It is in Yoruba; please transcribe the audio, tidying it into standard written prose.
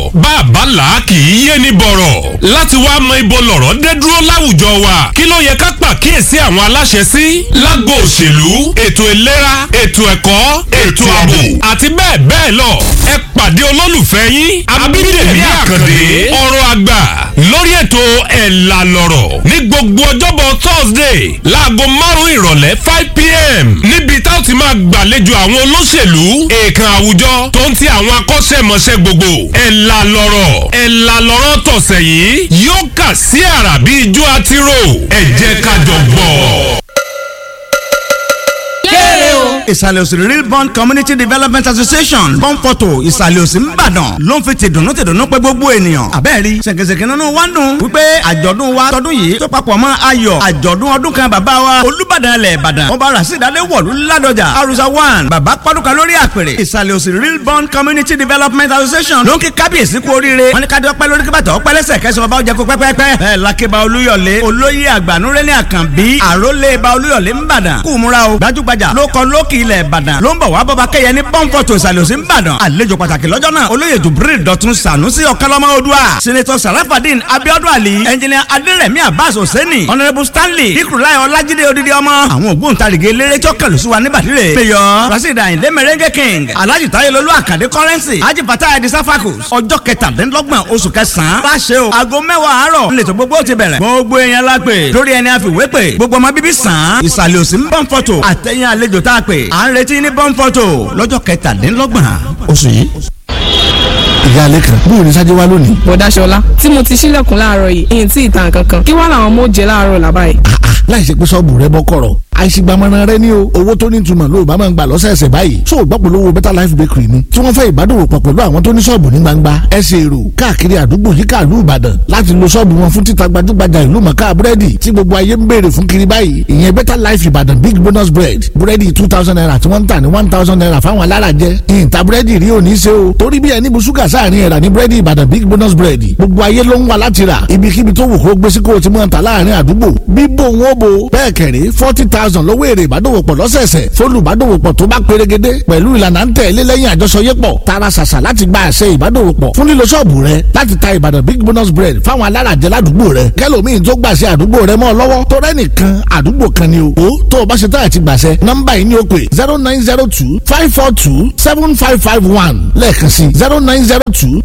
Lọ̀rọ̀ bàbá là kì í yé ni bọ̀rọ̀. Láti wá mọ ibo lọ̀rọ̀ dé dúró láwùjọ wa, kí ló yẹ ká pàkíyèsí àwọn aláṣẹ sí lágbo òṣèlú, ètò ìlera, ètò ẹ̀kọ́, ètò ààbò àti bẹ́ẹ̀ bẹ́ẹ̀ lọ. Ẹ pàdé olólùfẹ́ yín Abídèmí Àkàndé, ọ̀rọ̀ àgbà, lórí ètò Ẹ̀là Lọ̀rọ̀ ní gbogbo ọjọ́bọ̀ Thursday láago 5 ìrọ̀lẹ́ 5 p.m., níbi tá ó ti máa gbàlejò àwọn olóṣèlú, èèkàn àwùjọ tó ń ti àwọn akọ́ṣẹ́mọṣẹ́ gbogbo. Ẹ̀là Lọ̀rọ̀, Ẹ̀là Lọ̀rọ̀ tọ̀sẹ̀ yìí yóò kà sí àrà bí ijó àtirò. Ẹ jẹ́ ká jọ gbọ́. Ìsàlẹ̀ Òsì Real Bond Community Development Association, Bọ́ǹpọ̀tò, Ìsàlẹ̀ Òsì ńbàdàn, ló ń fi tìdùnnú tìdùnnú pé gbogbo ènìyàn. Àbẹ́ẹ̀rí ṣèkèṣèkè nínú wa ń dùn wípé àjọ̀dún wa tọdún yìí tó papọ̀ mọ́ ayọ̀ àjọ̀dún ọdún kan bàbá wa Olúbàdàn ilẹ̀ Ìbàdàn, Ọba Rasheed Adéwọ̀lú Ládọjà Arusa 1, bàbá pọ́dúkà lórí àpèrè. Ìsàlẹ̀ Òsì Real Bond Community Development Association ló ń kí kábíyèsí kú oríire. Wọ́n ní ká dọ́pẹ́ lórí kíbàtà ọpẹ́ lẹ́sẹ̀ kẹsàn-án bàbá ọjà kó pẹ́pẹ́pẹ́. Bẹ́ẹ̀ lakeba Olúyọ̀lé, olóyè àgbànúrẹ́lẹ̀ Àkànbí, àrólé ba Olúyọ̀lé ńbàdàn, kú múra o. Gbajúgbajà ló kọ lókì ilẹ̀ Ìbàdàn ló ń bọ̀ wá bọ́ba kẹyẹ ní Pọ́ńpọ̀tò Ìsàlẹ̀ Òsì ńbàdàn. Àlejò pàtàkì lọ́jọ́ náà, olóyè Jubril Dọ̀tun Sànúsì Ọ̀kánlọ́mọ Odua, Senator Sarafadin Abiodun Ali, Engineer Adérẹ̀mí Abbas Hosseini, Honourable Stanley Ikurulai Ọlájídé Odidi ọmọ. Àwọn ògbóǹtarìgì eléré tí ó kẹlù sí wa ní bàdìrẹ, Mayor Rasheed Ayinde Merengue King, Alhaji Tayelolu Akande Currency, Haji Fatah Edi Safakus. Ọjọ́ 27 oṣù kẹsàn-án láṣẹ o, aago 10 àárọ̀ ńlẹ̀tọ̀ gbogbo ti bẹ̀rẹ̀. Gbogbo èèyàn la pè lórí ẹni àfiwé pè, gbogbo ọmọ bíbí sàn án Ìsàlẹ̀ Òsì ń Pọ́ńpọ̀tò àtẹ̀yìn àlejò tá a pè, à ń retí ní Pọ́ńpọ̀tò lọ́jọ́ 27 oṣù yìí. Ìyá alẹ́ kan, bóun ní sáájú wa lónìí. Bọ̀dá Ṣọlá, tí mo ti ṣílẹ̀kùn láàárọ̀ yìí, ìyìn tí ìtàn kankan, kí wá làwọn ọmọ ó jẹ láàárọ̀ làbá yìí? Láì ṣe pé ṣọ́ọ̀bù rẹ bọ́ kọ̀rọ̀, àìsígbàmọ́ra rẹ ní o. Owó tó ní ìtumọ̀ ló bá máa ń gbà lọ́sẹ̀ẹ̀sẹ̀ báyìí. Tó o gbọ́ polówó Better Life Bakery ni tí wọ́n fẹ́ ìbádòwòpọ̀ pẹ̀lú àwọn tó ní ṣọ́ọ̀bù ní gbangba ẹsẹ̀ èrò káàkiri àdúgbò yíká ìlú Ìbàdàn láti lo ṣọ́ọ̀bù wọn fún títa gbajúgbajà ìlú mọ̀ká búrẹ́dì tí gbogbo ayé ń béèrè fún kiri báyìí, ìyẹn Better Life Ìbàdàn Big Bonus Bread. Búrẹ́dì ₦2,000 tí wọ́n ń tà ní ₦1,000 fáwọn alárajẹ. Ìyìntà búrẹ́dì rí òní ṣe o, torí bí ẹni bu ṣúgà sáàrin ẹ̀rà ní búrẹ́dì Ìbàdàn Big Bonus Bread. Gbogbo ayé ló ń wá láti rà. Ibikíbi tó wù kó gbé sí kó o ti mọ̀ ń ta láàrin àdúgbò bíbò wọn bo. Bẹ́ẹ̀ kẹ̀rí, 40,000 lọ́wọ́ èrè ìbádòwòpọ̀ lọ́sẹ̀ẹ̀sẹ̀ fólùbádòwòpọ̀ tó bá perégedé pẹ̀lú ìlànà ń tẹ̀lé lẹ́yìn àjọṣọyépọ̀. Tara ṣàṣà láti gba àṣẹ ìbádòwòpọ̀ fún lílo ṣọ́ọ̀bù rẹ láti ta Ìbàdàn Big Bonus Bread fáwọn alárajẹ ládùúgbò rẹ, kẹlòmíín tó gbàṣẹ àdúgbò rẹ mọ́ ọ lọ́wọ́, tó rẹ́ nìkan àdúgbò kan ni o. Ó tó o bá ṣe tán àti gbàṣẹ, nọ́mbà yìí ni ó pè: 09025427551. Lẹ́ẹ̀kan sí, 0902.